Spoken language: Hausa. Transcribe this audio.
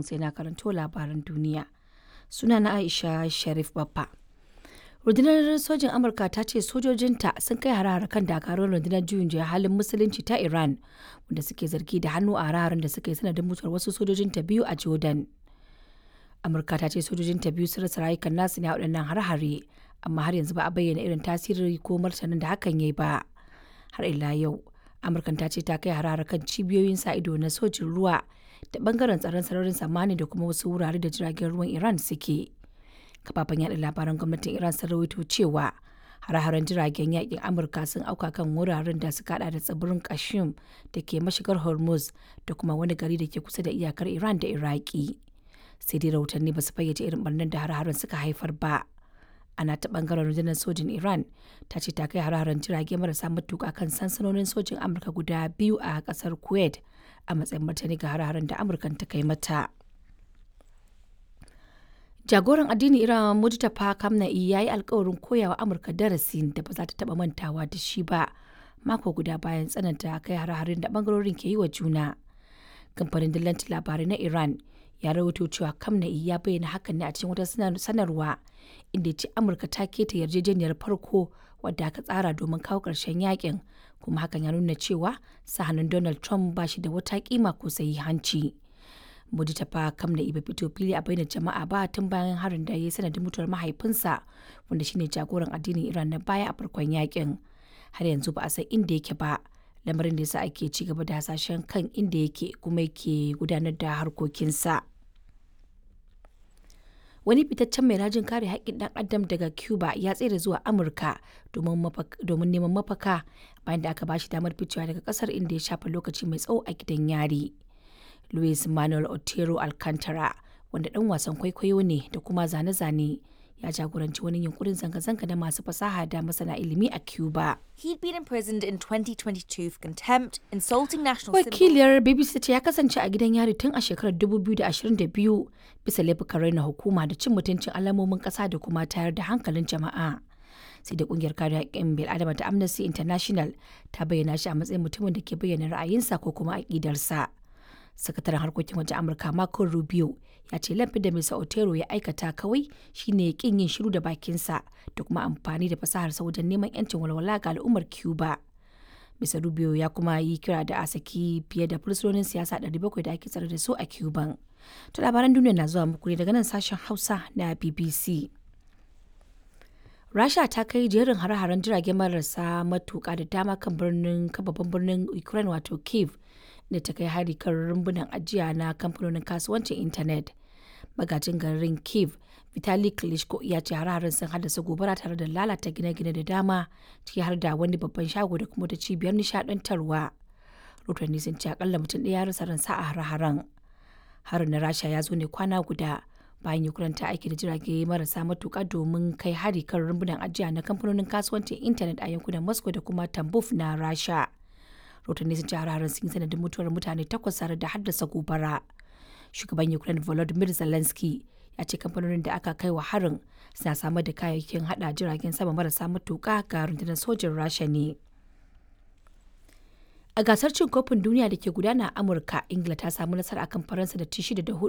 Sai na karanto labaran duniya. Sunana Aisha Sharif Baffa. Rundunar Sojin Amurka ta ce sojojinta sun kai hare-hare kan dakarun Rundunar Juyin Juya Halin Musulunci ta Iran wanda suke zargi da hannu a hare-haren da suka yi sanadin mutuwar wasu sojojinta biyu a Jordan. Amurka ta ce sojojinta biyu sun rasa rayukan nasu ne a waɗannan hare-hare, amma har yanzu ba a bayyana irin tasiri ko martanin da hakan ya yi ba. Har ila yau, Amurkan ta ce ta kai hare-hare kan cibiyoyin sa ido na sojin ruwa da bangaren tsaron sararin samaniya da kuma wasu wurare da jiragen ruwan Iran suke. Kafafen yada labaran gwamnatin Iran sun rawaito cewa hare-haren jiragen yakin Amurka sun auka kan wuraren da suka hada da tsibirin Kashim da ke mashigar Hormuz da kuma wani gari da ke kusa da iyakar Iran da Iraki. Sai dai rahotanni ba su fayyace irin barnar da hare-haren suka haifar ba. Ana ta bangaren rundunar sojin Iran ta ce ta kai hare-haren jirage marasa matuka kan sansanonin sojin Amurka guda biyu a kasar Kuwait a matsayin martani ga hare-haren da Amurkan ta kai mata. Jagoran addinin Iran Mujtaba Khamenei ya yi alkawarin koyawa Amurka darasin da ba za ta taba mantawa da shi ba mako guda bayan tsananta kai hare-haren da bangarorin ke yi wa juna. Kamfanin dillancin labarai na Iran ya rawaito cewa Khamenei ya bayyana hakan ne a cikin wata sanarwa inda ya ce Amurka ta keta yarjejeniyar farko wadda aka tsara domin kawo ƙarshen yakin, kuma hakan ya nuna cewa sa hannun Donald Trump ba shi da wata kima ko sahihanci. Mujtaba Khamenei bai fito fili a bainar jama'a ba tun bayan harin da ya yi sanadin mutuwar mahaifinsa, wanda shine jagoran addinin Iran na baya a farkon yakin. Har yanzu ba a san inda yake ba, lamarin da yasa ake ci gaba da hasashen kan inda yake kuma yake gudanar da harkokinsa. Wani fitaccen mai rajin kare haƙƙin ɗan adam daga Cuba ya tsere zuwa Amurka domin neman mafaka bayan da aka ba shi damar ficewa daga ƙasar inda ya shafe lokaci mai tsawo a gidan yari. Luis Manuel Otero Alcantara, wanda ɗan wasan kwaikwayo ne da kuma zane-zane, ya jagoranci wani yunkurin zanga-zanga na masu fasaha da masana ilimi a Cuba. He'd been imprisoned in 2022 for contempt, insulting national symbols. Wakiliyar BBC ta ce ya kasance a gidan yari tun a shekarar 2022 bisa laifukan raina hukuma da cin mutuncin alamomin ƙasa da kuma tayar da hankalin jama'a. Sai da kungiyar kare haƙƙin bil'adama ta Amnesty International ta bayyana shi a matsayin mutumin da ke bayyana ra'ayinsa ko kuma aƙidarsa. Sakataren harkokin wajen Amurka Marco Rubio ya ce laifin da Mr. Otero ya aikata kawai shine kin yin shiru da bakinsa da kuma amfani da fasaharsa wajen neman yancin walwala ga al'ummar Cuba. Mr. Rubio ya kuma yi kira da a saki fiye da fursunonin siyasa 700 da ake tsare da su a Cuban. To, labaran duniya na zuwa muku ne daga nan sashen Hausa na BBC. Rasha ta kai jerin hare-haren jirage marasa matuka da dama kan birnin kan babban birnin Ukraine wato Kiev, da ta kai hari kan rumbunan ajiya na kamfanonin kasuwancin intanet. Magajin garin Kiev, Vitali Klitschko, ya ce hare-haren sun haddasa gobara tare da lalata gine-gine da dama, ciki har da wani babban shago da kuma ta cibiyar nishadantarwa. Rotanni sun ce akalla mutum ɗaya ya rasa ransa a hare-haren. Harin na Rasha ya zo ne kwana guda bayan Ukraine ta aiki da jirage marasa matuka domin kai hari kan rumbunan ajiya na kamfanonin kasuwancin intanet a yankunan Moscow da kuma Tambov na Rasha. Rotanni sun ce hare-haren sun yi sanadin mutuwar mutane takwas tare da haddasa gobara. Shugaban Ukraine Volodymyr Zelensky ya ce kamfanonin da aka kai wa harin suna samar da kayayyakin hada jiragen sama marasa matuka ga rundunar sojin Rasha ne. A gasar cin kofin duniya da ke gudana a Amurka, Ingila ta samu nasara akan Faransa da ci 6 da 4.